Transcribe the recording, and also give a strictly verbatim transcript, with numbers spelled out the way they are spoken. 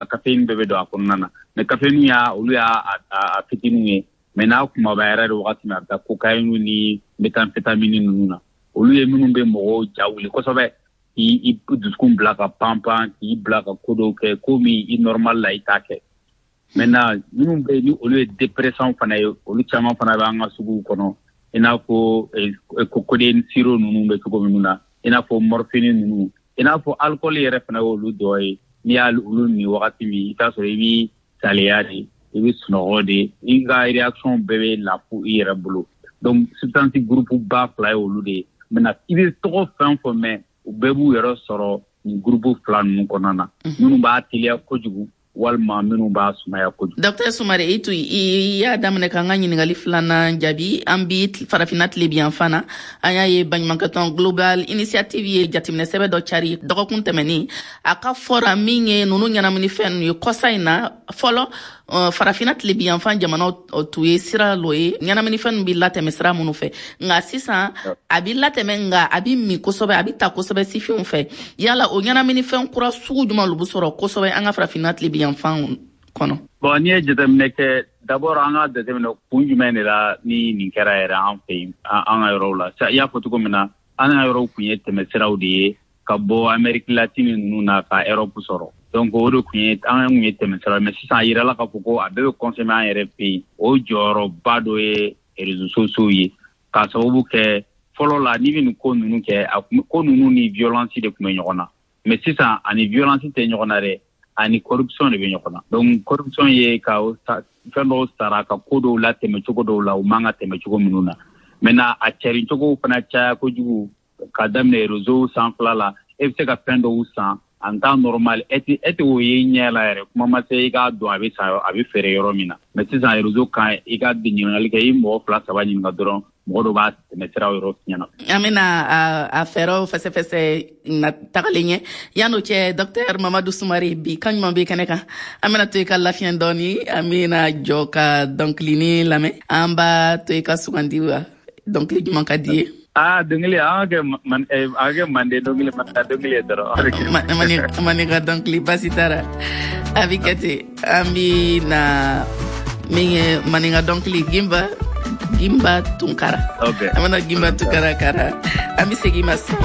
Caféine bɛɛ bɛ don a kɔnɔna na, mais caféine y'a olu y'a a fitininw ye. Mais n'a kumaba yɛrɛ de wagati min, a bɛ taa cocaïne ni méthamphétamine ninnu na. Olu ye minnu bɛ mɔgɔw ja wuli kosɛbɛ, k'i dusukun bila ka pan pan, k'i bila ka ko dɔw kɛ, ko min i normal la i t'a kɛ. Maintenant, minnu bɛ yen ni olu ye dépressant fana ye, olu caman fana bɛ an ka suguw kɔnɔ, i n'a fɔ codéine sirop ninnu bɛ cogo minnu na, i n'a fɔ morphine ninnu, i n'a fɔ alcool yɛrɛ fana y'olu dɔ ye. N'i y'a olu min wagati min, i t'a sɔrɔ i bɛ saliya de, i bɛ sunɔgɔ de, i ka réaction bɛɛ bɛ lafu i yɛrɛ bolo. Donc substance groupe ba fila ye olu de ye. Maintenant, i bɛ tɔgɔ fɛn fɛn mɛn, u bɛɛ b'u yɛrɛ sɔrɔ nin groupe fila ninnu kɔnɔna na, minnu b'a teliya kojugu walima minnu b'a sumaya kojugu. Docteur Sumare, i to i y'a daminɛ k'an ka ɲininkali filanan jaabi. An bi Farafinna tilebiyanfan na, an y'a ye baɲumankɛtɔn Global Initiative ye jateminɛ sɛbɛ dɔ cari dɔgɔkun tɛmɛnin. A ka fɔra min ye nunu ɲɛnaminifɛn ninnu ye kɔsa in na, fɔlɔ Farafinna tilebiyanfan jamanaw tun ye sira lɔ ye ɲɛnaminifɛn ninnu bi latɛmɛ sira minnu fɛ, nka sisan a bi latɛmɛ, nka a bi min kosɛbɛ, a bi ta kosɛbɛ sifinw fɛ. Yala o ɲɛnaminifɛn kura sugu jumɛn lu bi sɔrɔ kosɛbɛ an ka Farafinna tilebiyanfan kɔnɔ? Bon, n'i ye jateminɛ kɛ, d'abord an ka jateminɛ kun jumɛn de la ni nin kɛra yɛrɛ an fɛ yen, an ka yɔrɔw la. I y'a fɔ cogo min na, an ka yɔrɔw kun ye tɛmɛsiraw de ye ka bɔ Amérique latine ninnu na ka Europe sɔrɔ. Donc o de kun ye an kun ye tɛmɛsira. Mais sisan a yirala k'a fɔ ko a bɛɛ bɛ consommer an yɛrɛ fɛ yen. O jɔyɔrɔba dɔ ye réseaux sociaux ye, k'a sababu kɛ fɔlɔ la, n'i bɛ nin ko ninnu kɛ, a ko ninnu ni violence de tun bɛ ɲɔgɔn na. Mais sisan ani violence tɛ ɲɔgɔn na dɛ, ani corruption de bɛ ɲɔgɔn na. Donc corruption ye ka fɛn dɔw sara ka ko dɔw latɛmɛ cogo dɔw la, u man ka tɛmɛ cogo minnu na. Maintenant, a cɛrin cogow fana caya kojugu, ka daminɛ réseau sanfɛla la. E bɛ se ka fɛn dɔw san en temps normal, e tɛ e tɛ o ye i ɲɛ la yɛrɛ, kuma ma se i k'a dɔn a bɛ san, a bɛ feere yɔrɔ min na. Mais sisan réseau kan, i ka ɲininkali kɛ, i mɔgɔ fila saba ɲininka dɔrɔn, mɔgɔ dɔ b'a tɛmɛ sira yɔrɔ ɲɛna. An bɛna a fɛɛrɛw fɛsɛfɛsɛ na tagalen ɲɛ. Yan'o cɛ, docteur Mamadu Sumare, bi kan ɲuman bɛ kɛnɛ kan. An bɛna to i ka lafiɲɛ dɔɔni, an bɛna jɔ ka dɔnkilinin lamɛn. An b'a to i ka sugandi wa, dɔnkili jumɛn ka di ye? Ah, dɔnkili, an ka kɛ an kɛ mande dɔnkili, maninka dɔnkili ye dɔrɔn. Maninka dɔnkili, baasi t'a la, a bɛ kɛ ten. An bɛ na min ye maninka dɔnkili, Gimba Gimba Tunkara. An bɛna Gimba Tunkara kara, an bɛ segin ma sisan.